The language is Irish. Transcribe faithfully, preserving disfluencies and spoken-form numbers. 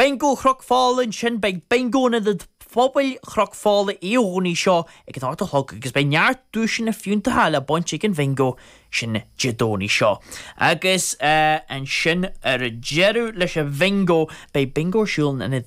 Bingo Chnoc Fola ansin beidh bingo in Ionad Pobail Chnoc Fola Dé Domhnaigh seo ag an ocht a chlog agus beidh neart duaiseanna fiúntacha le baint ag an bhingo sin Dé Domhnaigh seo. Agus uh, ansin ar deireadh leis an bhingo beidh bingo ar siúl in